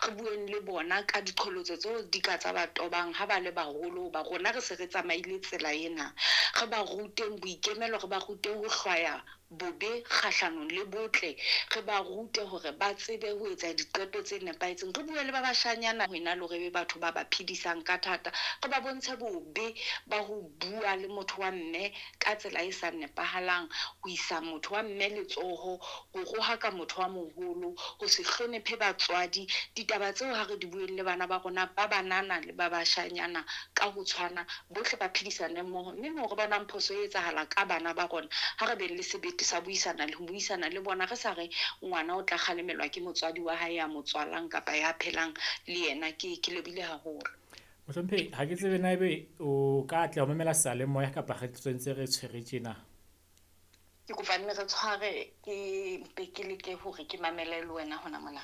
Re bueng le bona ka diqholotso tseo di ka tsa ba tobang ha ba le baholo, ba rona re se re tsamaile tsela ena. Re ba ruteng boikemelo, re ba rute ho hlwaya bobe kgahlanong le botle, re ba rute hore ba tsebe ho etsa diqeto tse nepahetseng. Re bue le ba bashanyana ho ena le hore e be batho ba ba phedisang ka thata. Re ba bontshe bobe ba ho bua le motho wa mme ka tsela e sa nepahalang, ho isa motho wa mme letsoho, ho rohaka motho wa moholo, ho se hlonephe batswadi. Ditaba tseo ha re di bueng le bana ba rona ba banana le ba bashanyana ka ho tshwana, bohle ba phedisane mmoho. Mme moo re bonang phoso e etsahala ka bana ba rona, ha re beng le sebete sa buisana le ho buisana le bona, re sa re ngwana o tla kgalemelwa ke motswadi wa hae ya mo tswalang kapa ya phelang le yena. Ke lebohile haholo. Mohlomphehi, ha ke tsebe na ebe o ka atleha ho mamela seyalemoya kapa re ntse re tshwere tjena. Ke kopa nne re tshware, ke mpe ke leke hore ke mamele le wena hona mona.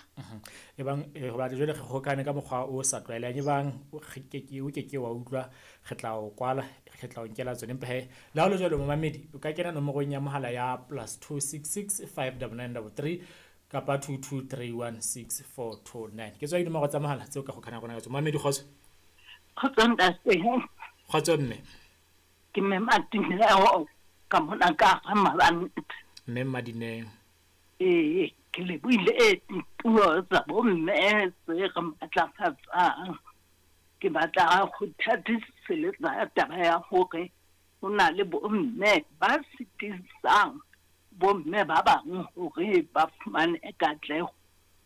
Ebang hoba jwale re hokane ka mokgwa o sa tlwaelehang, ebang o ke ke wa utlwa, re tla o kwala, re tla o nkela tsone. Empa he, le ha ho le jwalo momamedi, o ka kena nomorong ya mohala ya +266 599 33 kapa 22316429. Ke tswa dinomoro tsa mohala tseo ka hokana rona ka tsona. Momamedi, kgotso. Kgotso ntate. Kgotso mme. Ke mme Madineo ka mona ka ga Mabanta. Mme Madineo. Ee, ke lebohile dipuo tsa bomme tse re matlafatsang. Ke batla go thatiseletsa taba ya hore ho na le bomme ba sitisang bomme ba bang hore ba fumane katleho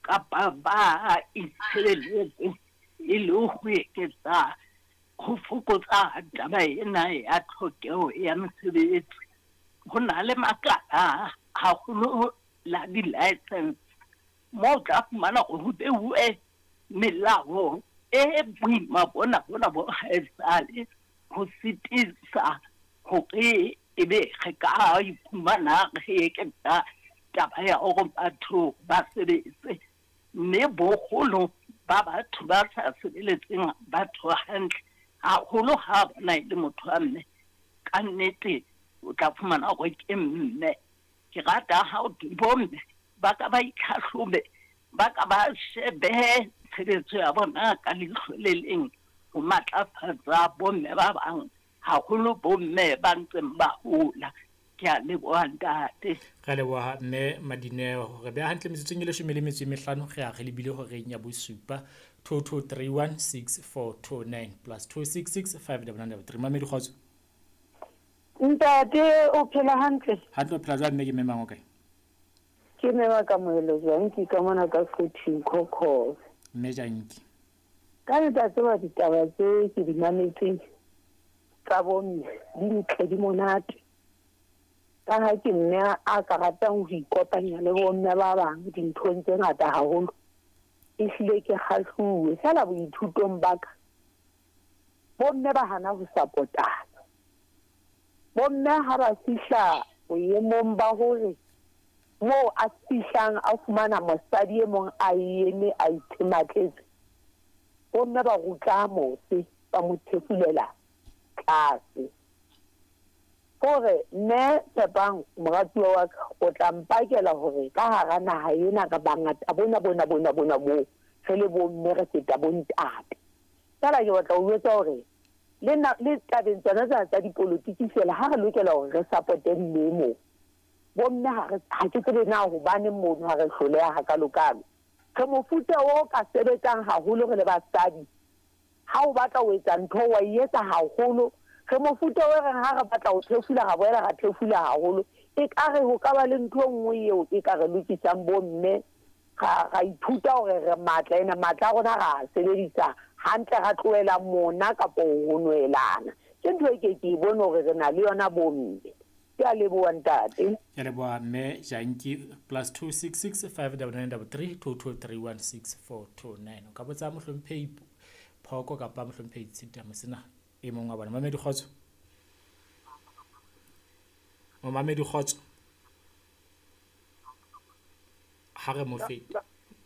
kapa ba itshebeletse e le ho eketsa ho fokotsa taba ena ya tlhokeho ya mesebetsi. Ho na le makala haholo la di-license moo o tla fumana hore ho beuwe melao e boima bona bona bo haesale ho sitisa hore ebe re ka iphumana re eketsa taba ya hore batho ba sebetse. Mme boholo ba batho ba sa sebeletseng batho hantle haholo ha bona e le motho wa mme, ka nnete o tla fumana hore ke mme. Ke rata ha o bomme ba ka ba itlhahlobe, ba ka ba shebe tshebetso ya bona ka leihlo le leng ho matlafatsa bomme ba bang, haholo bomme ba ntseng ba hola. Ke a leboha ntate. Re leboha mme Madineo. Re beha hantle metsotsong e 15, re a re lebile horeng ya bosupa. 22316429 +266 599 3. Mamedi, kgotso. Ntate, o phela hantle? Hantle, o phela jwang mme? Ke mme mang, o kae? Ke mme wa Kamohelo Janki ka mona ka Quthing Khokhobe. Mme Janki. Ka letsatsi tseba ditaba tse ke di mametseng tsa bomme di ntle, di monate. Ka ha ke mme a ka ratang ho ikopanya le bomme ba bang dinthong tse ngata haholo, ehlile ke kgahluwe. Feela boithutong ba ka, bomme ba hana ho sapotana. Bomme ha ba fihla boemong ba hore moo a fihlang a fumana mosadi e mong a eme a ithematletse, bomme ba rutla mose, ba mo thefulela tlase. Hore mme Tshepang, moratuwa wa ka, o tla mpakela hore ka hara naha ena re bangata bona bona bona bona boo re le bomme re feta bontate. Feela ke batla ho jwetsa hore le na le tabeng tsona tsena tsa dipolotiki feela ha re lokela hore re sapote mme moo. Bomme ha re ha ke tsebe na hobaneng mono ha re hloleha hakalokalo. Re mofuta o ka sebetsang haholo re le basadi. Ha o batla ho etsa ntho wa e etsa haholo. Re mofuta o reng ha re batla ho thefula ra boela ra thefula haholo. Ekare ho ka ba le ntho e nngwe eo e ka re lokisang bomme, ra ithuta hore re matla, ene matla a rona ra a sebedisa hantle, ra tlohela mona kapo ho nwelana. Ke ntho e ke ke e bone hore re na le yona bomme. Ke a leboha ntate. Ke a leboha mme Janki. +266 599 33 22316429. O ka botsa mohlomphehi Phoko kapa mohlomphehi Tshita Mosina e mong wa bona. Mamedi, kgotso. Momamedi, kgotso. Ha re mo fete.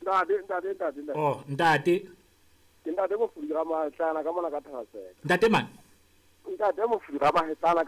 Ntate, ntate, ntate, ntate. Oh, ntate. Ke ntate Mofudi Ramatlana ka mona ka Thasela. Ntate man. Ntate Mofudi Ramatlana.